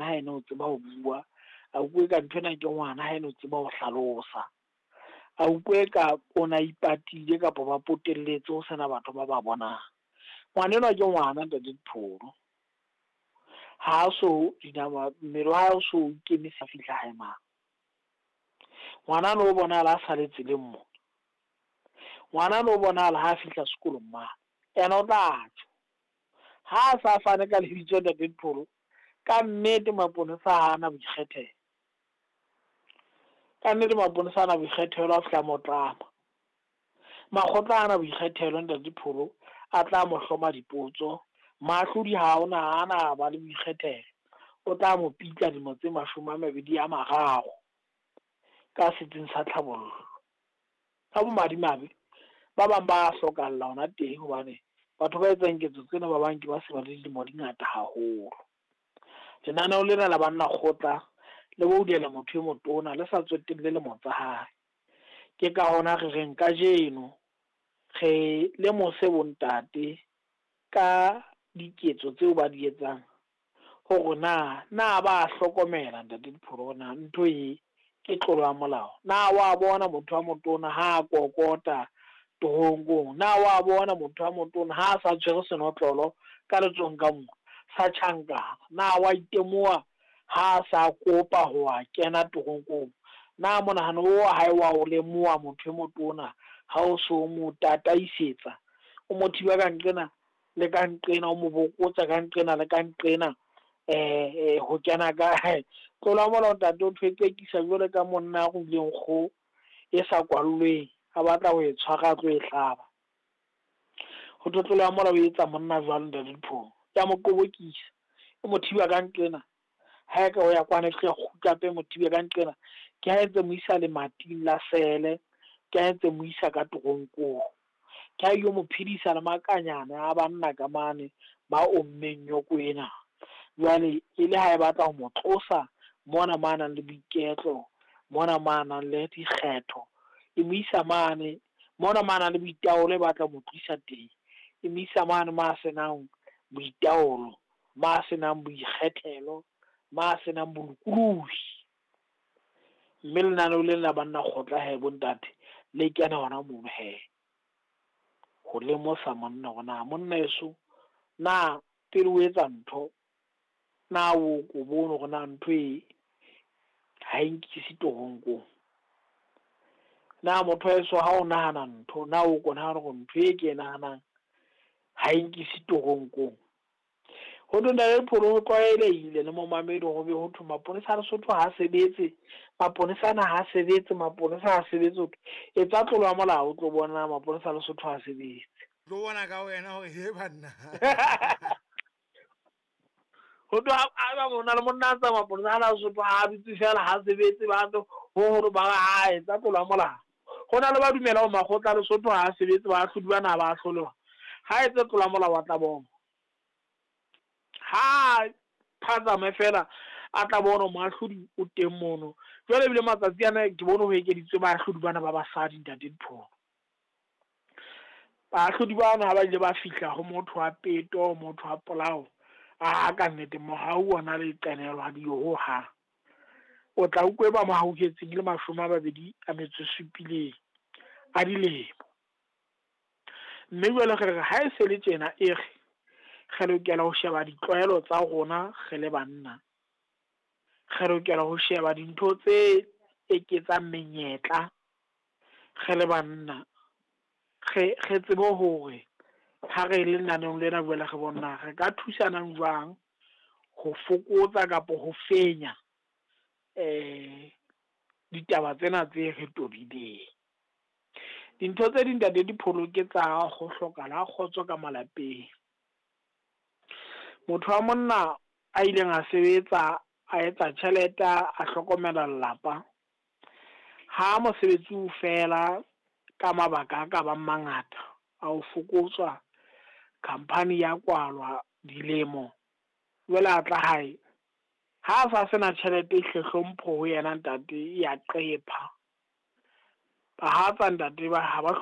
ngwana ha ene o tseba ho bua, a utlwe ka nthwena ke ngwana ha ene o tseba ho hlalosa, a utlwe ka o na ipatile kapa ba potelletse ho sena batho ba ba bonang. Ngwana enwa ke ngwana ntate Dipholo, ha so dinama mmele wa hae o so ikemisa fihla hae mang. Ngwana no bonahala a sale tseleng mo, ngwana no bonahala ha fihla sekolong mane, ena o tla tjho. Ha a sa fane ka lebitso ntate Dipholo, ka nnete maponesa ha ana boikgethelo. Ka nnete maponesa ha ana boikgethelo a fihla mo tlama. Makgotla ha ana boikgethelo ntate Dipholo, a tla mo hloma dipotso. Maahlodi ha ona ha ana ba le boikgethelo, o tla mo pitla dilemo tse 23 ka setsing sa tlhabollo. Ka bomadimabe ba bang ba hlokahalla hona teng hobane batho ba etsang ketso tsena ba bang ke ba se ba le dilemo di ngata haholo. Lenaneo lena la banna kgotla le boulela motho e motona le sa tsotelle lemo tsa hae. Ke ka hona re reng kajeno re lemose bontate ka diketso tseo ba di etsang hore na ba hlokomela ntate Dipholo na ntho e ke tlolo ya molao. Na wa bona motho wa motona ha kokota toronkong? Na wa bona motho wa motona ha sa tshwere senotlolo ka letsohong ka mo sa tjhankana? Na wa itemoha ha sa kopa ho a kena toronkong? Na monahano wa hae wa o lemoha motho e motona ha o so mo tataisetsa, o mo thiba ka nqena le ka nqena, o mo bokotsa ka nqena le ka nqena ho kena ka tlolo ya molao ntate o thwe qekisa jwale ka monna a ruileng kgoho e sa kwallweng, a batla ho e tshwara a tlo e hlaba. Ho thwe tlolo ya molao e etsa monna jwalo ntate Dipholo, ya mo qobokisa, e mo thiba ka nqena, ha e ka o ya kwana e fihla kgutla hape mo thibe ka nqena. Ke ha ntse mo isa lemating la sele, ke ha ntse mo isa ka toronkong, ke ha yo mo phedisa le makanyana a banna ka mane ba ommeng nyoko ena. Jwale e le ha e batla ho mo tlosa mona mo nang le boiketlo, mona mo nang le dikgetho, e mo isa mane mona mo nang le boitaolo, e batla ho mo tlisa teng, e mo isa mane mo a senang boitaolo, mo a senang boikgethelo, mo a senang bolokolohi. Mme lenaneo lena la banna kgotla he bontate le kena hona mono he, ho lemosa monna hore na monna eso na pele o etsa ntho na o ko bone hore na ntho e ha e nkise toronkong. Na motho wa heso ha o nahana ntho, na o ko nahana hore ntho e ke e nahanang ha e nkise toronkong. Ho thwe ntate Dipholo ho tlwaelehile le momamedi hore be ho thwe maponesa a Lesotho ha sebetse, maponesa ana ha sebetse, maponesa ha sebetse. Ho thwe etsa tlolo ya molao o tlo bona maponesa a Lesotho ha sebetse. Tlo bona ka wena hore he banna. Ho thwe ha mona le monna a tsa maponesa a Lesotho ha bitse fela ha sebetse, ba tlo ho hore ba ha etsa tlolo ya molao. Ho na le ba dumela hore makgotla a Lesotho ha sebetse, ba ahlodi bana ba ahlolwa. Ha etse tlolo ya molao wa tla bona. Ha phatsame fela a tla bona moahlodi o teng mono. Jwale ebile matsatsi ana ke bone ho ekeditswe baahlodi bana ba basadi ntate Dipholo. Baahlodi bana ha ba ile ba fihla ho motho wa peto, motho wa polao, a ka nnete mohau ona le qenehelo ha diyo ho hang. O tla utlwe ba mo hauhetseng le 27 a dilemo. Mme jwale re re ha e se le tjena e re re lokela ho sheba ditlwaelo tsa rona re le banna. Re lokela ho sheba dintho tse eketsang menyetla re le banna. Re tsebe hore ha re le lenaneong lena jwale re bona re ka thusanang jwang ho fokotsa kapa ho fenya ditaba tsena tse re tobileng. Dintho tse ding ntate Dipholo ke tsa ho hlokahala kgotso ka malapeng. Motho wa monna a ileng a sebetsa, a etsa tjhelete, a hlokomela lelapa, ha mosebetsi o fela ka mabaka a ka bang mangata a ho fokotswa, khampani ya kwalwa dilemo, jwale a tla hae ha a sa sena tjhelete, ehle hlompho ho yena ntate ya qepha. Bahatsa ntate ba ha ba